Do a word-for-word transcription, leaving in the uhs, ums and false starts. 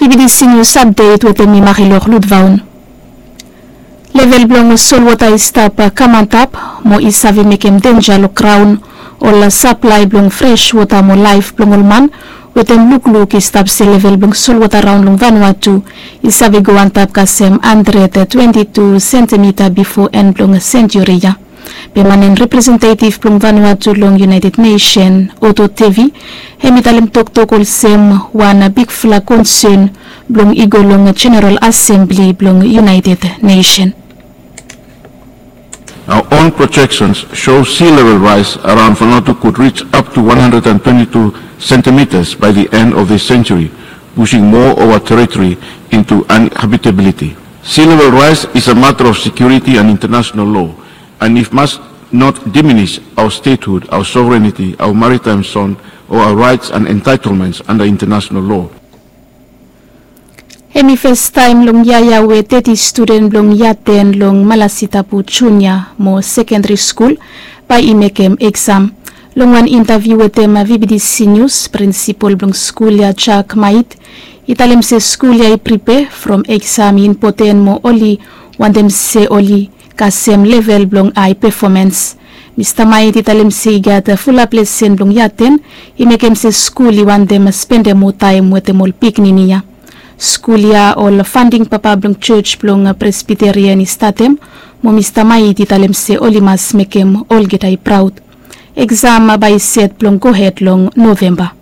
Bibidisi nius apdet wetem mi Marilor Ludvaun. Level blong solwota i stap kam antap mo i save mekem denja long graon. Ol saplae blong fres wota mo laef blong ol man wetem lukluk i stap se level blong solwota raon long Vanuatu i save go antap kasem handred twenti tu sentimita bifo en blong senjuri ya. Be man en representetiv blong Vanuatu long United Nation, Otto Tevi, hem i talem toktok olsem wan bigfala konsen blong i go long Jeneral Asembli blong United Nation. Our own projections show sea level rise around Vanuatu could reach up to one hundred and twenty-two centimeters by the end of this century, pushing more of our territory into uninhabitability. Sea level rise is a matter of security and international law, and it must not diminish our statehood, our sovereignty, our maritime zone, or our rights and entitlements under international law. Hem i festaem long yia ya we teti studen blong yia ten long Malasitapu Junia mo Sekendari Skul bae i mekem eksam. Long wan intaviu wetem Vibidisi Nius, prinsipol blong skul ya, Jack Mait, i talem se skul ya i pripe from eksam i impoten mo oli wantem se oli kasem level blong ae pefomens. Mista Mait i talem se i gat fulap lesen blong yia ten i mekem se skul i wantem spendem moa taem wetem ol pikinini ya. Skul ya ol fanding papa blong jos blong Presbiterian i statem, mo Mista Mait i talem se oli mas mekem olgeta i praod. Eksam bae i set blong gohed long Novemba.